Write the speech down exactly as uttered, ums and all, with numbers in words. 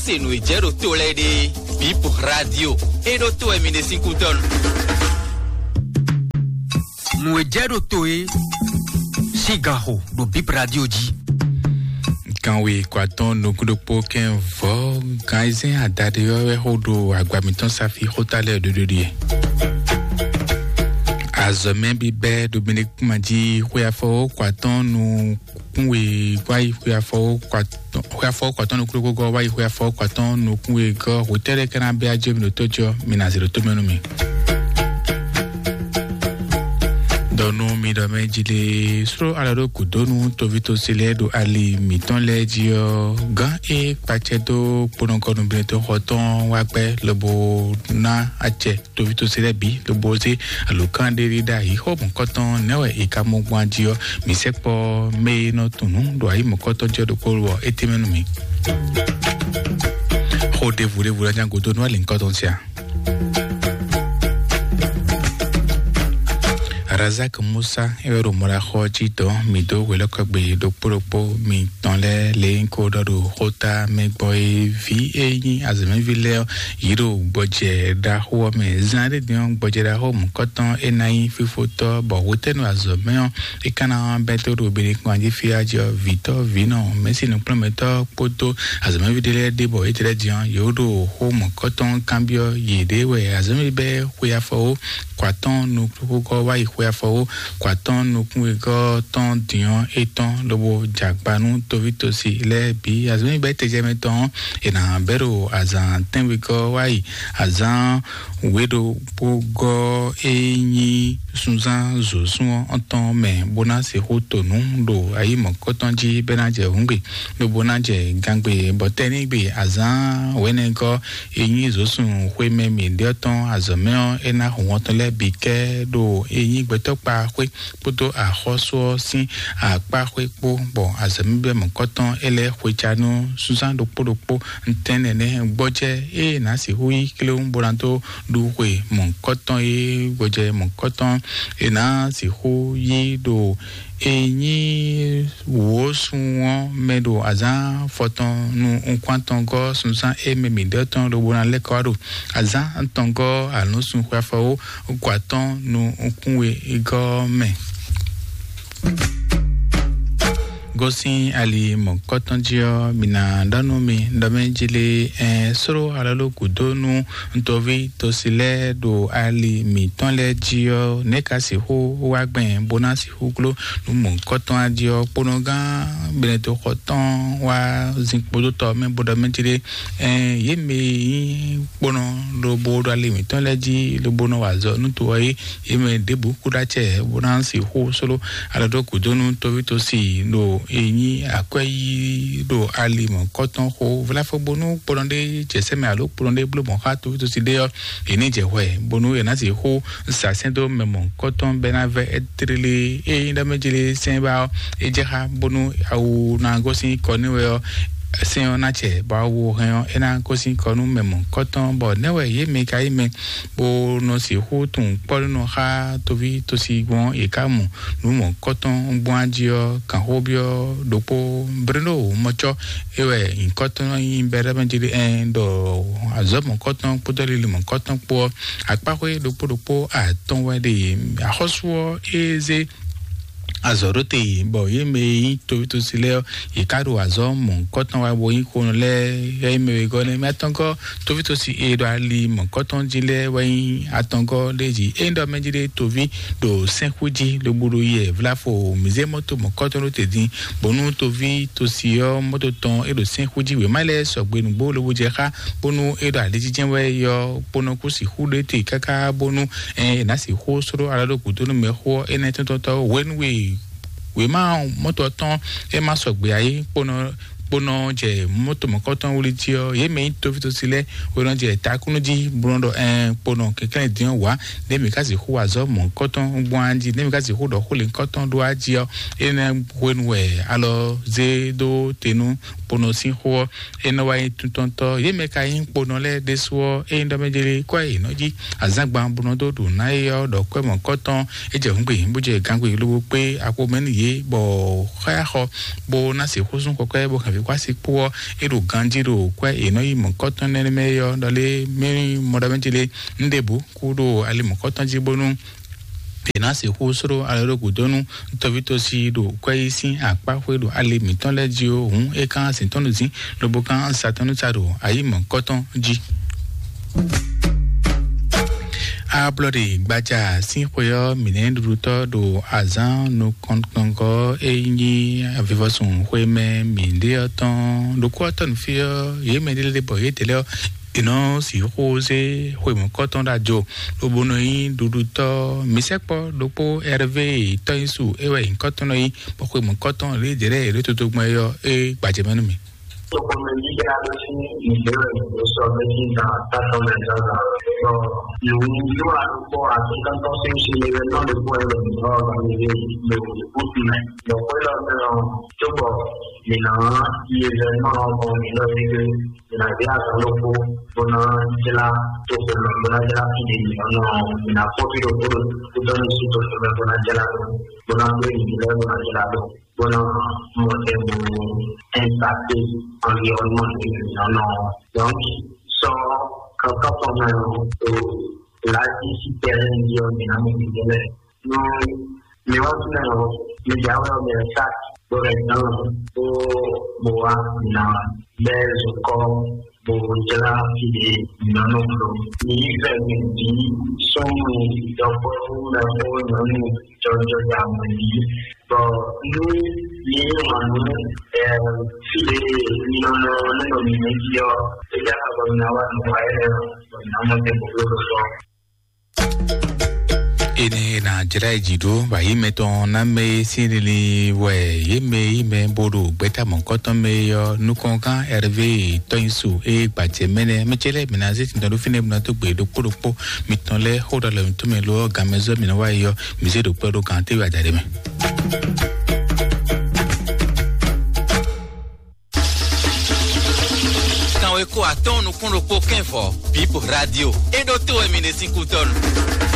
Se nǔ e jɛ ɖo to lɛ́ɛ ɖe, Bip Radio. E ɖo to wɛ mi ɖe sín kútɔ́ nu. Nǔ e jɛ ɖo to e sín ganxo ɖo Bip Radio jí. Kanwe kɔ atɔn nukún ɖokpó kɛn vɔ gan ayizɛ́n adaɖe ɔ́ wɛ xó ɖo agba mǐtɔn safi xóta lɛ́ɛ ɖoɖo ɖie. Azɔ̌mɛ bíbɛ́ ɖo Benedikt kúma jí xwe afɔ kɔ atɔn nukún we wáyi xwe afɔ kɔ atɔn, xwe afɔ kɔ atɔn nukún ɖokpó gɔ́ wáyi xwe afɔ kɔ atɔn nukún we gɔ́ hwetɛ́ ɖé ká ná bɛ́ ajé mi ɖo tó jí ɔ́, mi ná zě ɖo tó mɛ nú mi. Ɖɔ nú mi ɖɔ mɛ jí lé sró alɔ ɖó gǔdó nú tovítɔ́ se lɛ́ɛ ɖo ali mǐtɔn lɛ́ɛ jí ɔ́, gán e kpacɛ dó kponɔkɔnú Benedikt xɔ tɔn wá gbɛ́ lobo ná acɛ tovítɔ́ se lɛ́ɛ bǐ lobo zé alǒkan ɖé ɖi ɖ'ayǐ xó mɔ̌kɔtɔn nɛ́ wɛ è ka mɔ gbɔn jí ɔ́, mǐ sɛkpɔ́ mɛ e nɔ tunwun nǔ ɖo ayǐ mɔ̌kɔtɔn jí ɔ́ ɖokpó wɔ é tɛ́nmɛ nú mǐ. Xó ɖěvo ɖěvo ɖó anyá gúdo nú alǐnkɔtɔn sia. Razak Musa é wɛ ɖo mɔɖaxɔ jí dɔn mǐ dó hwelɛ́kɔgbe ɖokpó ɖokpó mitɔn lɛ́ɛ lě nyí ko ɖɔ ɖo xóta mɛ gbɔ é ví é nyí azɔ̌mɛví lɛ́ɛ ɔ́ yě ɖo gbɔjɛ ɖaxó ɔ́ mɛ. Zan ɖé din ɔ́, gbɔjɛ ɖaxó mɔ̌kɔtɔn é ná nyí fífótɔ́, bɔ hwetɛ́nu azɔ̌mɛ ɔ́ é ka ná bɛ́ tó ɖo Benedikt kpán jí fí á jí ɔ́, vǐtɔ́ vǐnɔ mɛ̌si nǔkplɔ́nmɛtɔ́ kpódó azɔ̌mɛví ɖé lɛ́ɛ ɖe bɔ étɛ́ lɛ́ɛ din ɔ́, yě ɖo xó mɔ̌kɔtɔn kanbyɔ́ yěɖée wɛ azɔ̌mɛví bɛ́ xwe afɔwó kɔ atɔ́ɔ́n nukúnxwéxwé wá yi xwe afɔwó kɔ atɔ́ɔ́n nukúnwegɔ́ tɔn din ɔ́ étɔn lobo jɛ akpa nú tovítɔ́si lɛ́ɛ bǐ. Azɔ̌mɛví bɛ́ tɛjɛ mɛ tɔn ɔ́, è nǎ bɛ́ ɖo azǎn tɛ́nwegɔ́ wá yi azǎn wěɖokpógɔ́ e nyí sunzán zǒsún ɔ́ tɔn mɛ, bó ná sixú to nǔ ɖo ayǐ mɔ̌kɔtɔn jí bɔ é ná jɛ hǔngbe, lobo ná jɛ gangbe, bɔ tɛ́nígbe azǎn wěnɛgɔ́ e nyí zǒsún xwemɛ mǐɖée ɔ́ tɔn azɔ̌ mɛ ɔ́, é ná hu wɔn tɔn lɛ́ɛ bǐ kɛ ɖo e nyí gbɛtɔ́kpa xwé kpódó axɔ́sú ɔ́ sín akpá xwé kpó, bɔ azɔ̌mɛví mɔ̌kɔtɔn é lɛ́ xwe ca nú sunzán ɖokpó ɖokpó. Ntɛ́nnɛ nɛ́ gbɔjɛ́ e è nǎ sixú yí kléwún bó ná dó ɖu xwe mɔ̌kɔtɔn e gbɔjɛ́ mɔ̌kɔtɔn è nǎ sixú yí ɖo e nyí wǒsun ɔ́ mɛ ɖo azǎn fɔtɔn nú nukún atɔn gɔ́ sunzán e mɛ mǐɖée tɔn lobo ná lɛ́ kɔ wá ɖo azǎn atɔn gɔ́ alɔ̌nsun xwe afɔwó gɔ́ atɔn nú nukún we gɔ́ mɛ. Gosín ali mɔ̌kɔtɔn jí ɔ́, mi ná ɖɔ nú mi ɖɔ mɛ jí lé, ɛn sró alɔló gǔdo nú ntɔ́ví tosi lɛ́ɛ ɖo ali mǐtɔn lɛ́ɛ jí ɔ́, nɛ̌ ka sixú wá gbɛn bó ná sixú gló nú mɔ̌kɔtɔn á jí ɔ́, kponɔgán Benɛto xɔ tɔn wá zinkpo dó tɔ mɛ bó ɖɔ mɛ jí lé, ɛn yě mɛ e nyí kponɔ lobo ɖo ali mǐtɔn lɛ́ɛ jí lobo nɔ wa azɔ̌ nú to ɔ́ é, yě mɛ ɖěbǔ kú ɖó acɛ bó ná sixú sló alɔ ɖó gǔdo nú tovítɔ́si ɖo e nyí akwɛ́ yí ɖo ali mɔ̌kɔtɔn xó vláfɔ́gbónú kponɔ ɖé jɛ sɛ́ mɛ alo kponɔ ɖé bló mɔ̌ xá tovítɔ́si ɖé ɔ́, è ní jɛ hwɛ bónú è nǎ sixú sa sɛ́n dó mɛ mɔ̌kɔtɔn bɔ é ná vɛ́ é tlélé. Ényí ɖɔ mɛ jlé sɛ́n ba ɔ́, é jɛ xá bónú awu ná gosín kɔ n'i wɛ ɔ́, sɛ́n ɔ́ ná cɛ bɔ awu hɛn ɔ́, é ná gosín kɔ nú mɛ mɔ̌kɔtɔn, bɔ nɛ́ wɛ yě mɛ ka nyí mɛ bó nɔ sixú tunwun kpɔ́ nɔ xá toví tosi gbɔn è ká mɔ nǔ mɔ̌kɔtɔn gbɔn á jí ɔ́, gǎnxóbyɔ́ ɖokpó Breno mɔcɔ é wɛ nyǐkɔtɔn nyí bɛ́ ɖɔ mɛ jí ɛn ɖɔ azɔ̌ mɔ̌kɔtɔn kpódó lili mɔ̌kɔtɔn kpó ɔ́, akpáxwé ɖokpó ɖokpó atɔn wɛ ɖe axɔ́sú ɔ́ é zé azɔ̌ ɖó te, bɔ yě mɛ e nyí tovítɔ́si lɛ́ɛ ɔ́, yě ká ɖo azɔ̌ mɔ̌hunkɔtɔn wa bó nyí xonɔ lɛ́ɛ, yɛ nyí mɛ wegɔ́ nɛ́. Mɛ atɔngɔ́ tovítɔ́si e ɖo ali mɔ̌hunkɔtɔn jí lɛ́ɛ wɛ nyí atɔngɔ́ ɖé jí. Ényí ɖɔ mɛ jí ɖé toví ɖo sɛ́nxú jí lobo ɖo yɛ vláfo mǐzé mɔ́to mɔ̌hunkɔtɔn ɖó te dín, bónú tovítɔ́si ɔ́ mɔ́to tɔn é ɖo sɛ́nxú jí wěma lɛ́ɛ sɔgbe nǔgbó lobo jɛ xá, bónú é ɖo alijijɛ wɛ yɔ kponɔ kú sixú ɖó te káká bónú ɛ ná sixú sró alɔ ɖó gǔdo nú mɛxó ɔ́ énɛ́ tɔntɔntɔ hwenu e wěma mɔtɔ tɔn é ma sɔgbe ǎ é kponɔ kponɔ jɛ mɔtɔ mɔkɔtɔn wlí jí ɔ́, yě mɛ nyí tovítɔ́si lɛ́ɛ hwenɔ jɛ takúnú jí bó nɔ ɖɔ ɛn kponɔ kɛnklɛ́n dín ɔ́ wǎ, nɛ̌ mǐ ka sixú wa azɔ̌ mɔ̌kɔtɔn gbɔn á jí, nɛ̌ mǐ ka sixú ɖɔ xó lěhunkɔtɔn ɖó á jí ɔ́, énɛ́ hwenu wɛ alɔ zé dó te nú kponɔ sín xó ɔ́. É nɔ wá nyí tuntɔntɔ yě mɛ ka nyí kponɔ lɛ́ɛ ɖésú ɔ́, é nyí ɖɔ mɛ jlé kɔ́ yě nɔ jí azǎngban bó nɔ dó ɖu ná é ɔ́ ɖɔ kwɛ́ mɔ̌kɔtɔn é jɛ hǔngbe bó jɛ gangbe lobo kpé akpo mɛ nú yě bɔ xá xɔ bó ná se xó sún kɔkwɛ́ bó hɛn Wá sí kpó ɔ́, é ɖo ganjí ɖo kwɛ́ è nɔ yi mɔ̌kɔtɔn nɛnɛ mɛ é ɔ́, ɖɔ lé mɛ mɔɖɔmɛjí lé, un ɖěbǔ kú ɖo ali mɔ̌kɔtɔn jí bónú è nǎ sixú sló alɔ ɖo gǔdo nú tɔ́ví tɔ́sí ɖo kwɛ́ yí sín akpá xwé ɖo ali mǐtɔn lɛ́ɛ jí ó, hǔn é kán sin tɔ́ nú dín, lobo kán sa tɔ́ nú sa ɖo ayǐ mɔ̌kɔtɔn jí. Ablɔɖe gbaja sín xwe ɔ́, mǐ nɛ́ ɖuɖutɔ́ ɖo azǎn nukɔntɔngɔ́ e nyí avivɔsun xwe mɛ mǐ ɖe ɔ́ tɔn. Ɖokpó ɔ́ tɔn fí ɔ́, yě mɛ ɖé lɛ́ɛ bɔ yědɛɛ lɛ́ɛ ɔ́, è nɔ sixú zé xwe mɔ̌kɔtɔn ɖo ajo, lobo nɔ nyí ɖuɖutɔ́. Mǐ sɛkpɔ́ ɖokpó Ɛrvé tɔ́ nyí su é wɛ nyǐkɔtɔn nɔ nyí, bɔ xwe mɔ̌kɔtɔn lě jɛ lɛ́ɛ è ɖǒ toto gbɔn é ɔ́, é gbajɛ mɛ nú mì. Tokpɔnmɛ yíyá ló sí ìbéèrè tó sọ méjì náà tátọ́ mẹ́ta náà. Sọ ìwú yóò wá ló pọ̀ àti kántọ́ sí ń ṣe eré náà ló pọ̀ ẹ̀rọ ìgbà ọ̀gá mi lé lò ìbúkú mẹ́. Lọ́pọ̀ ìlànà tó bọ̀ nìyà iye rẹ̀ náà kàn mí lọ sí pé ìnàbí àgbà ló kó bọ́nà jẹ́lá tó kó mẹ́ bọ́nà jẹ́lá fìdí nìyà náà ìnà kó fi ló kó ló kó dọ́nù sí tó kó mẹ́ bọ́nà jẹ́lá tó bọ́nà pé ìdílé bọ́nà jẹ́lá tó. Bónú mɔtɛnbo ɛnpakté environnement nínú nɔ. Donc sɔ kankan fɔmɛ o lati si tɛrɛ ndi ɔ mina mo bi tɛlɛ. No mi wa tún ɔ mi ja wɛ ɔ mi sa bo rɛ dan bo bo wa na bɛ zokɔ bo jla fide nyɔnu ɖo. Mi yi fɛ mi bi sɔmu dɔkpɔnu mɛxo nyɔnu jɔjɔ da mɔ yi. Bɔ nú mi yi wǎn nú fide nyɔnu nínú mi jí ɔ, é jẹ́ àbọ̀ mi ná wà nù wáyé rẹ̀ bɔ mi ná mɔ tɛ bòbló ló sɔ. Ene na jra yi dzi ɖó wǎyí mɛtɔn ná mɛ sín lili wɛ yě mɛ yí mɛ bó ɖo gbɛ́ta mɔ̌kɔtɔn mɛ ɔ́, nukɔngán Ɛrvé tɔ́nyísú é gbajɛ mɛnɛ mɛ cɛ lɛ́ɛ mǐ ná zé tindɔn ɖó fínɛ́ bó ná dó gbe ɖokpó ɖokpó mitɔn lɛ́ɛ xó ɖɔ lɛ mǐtɔn mɛ lo ɔ́, gan mɛ zɔ́ mǐ ná wá yi ɔ́, mǐ zé ɖo kpɛ́ ɖó gan téwé adaɖé mɛ. Kanwe ko atɔn nukún ɖokpó kɛn vɔ, Bib Radio. E ɖo to wɛ mi ne sín kútɔnu.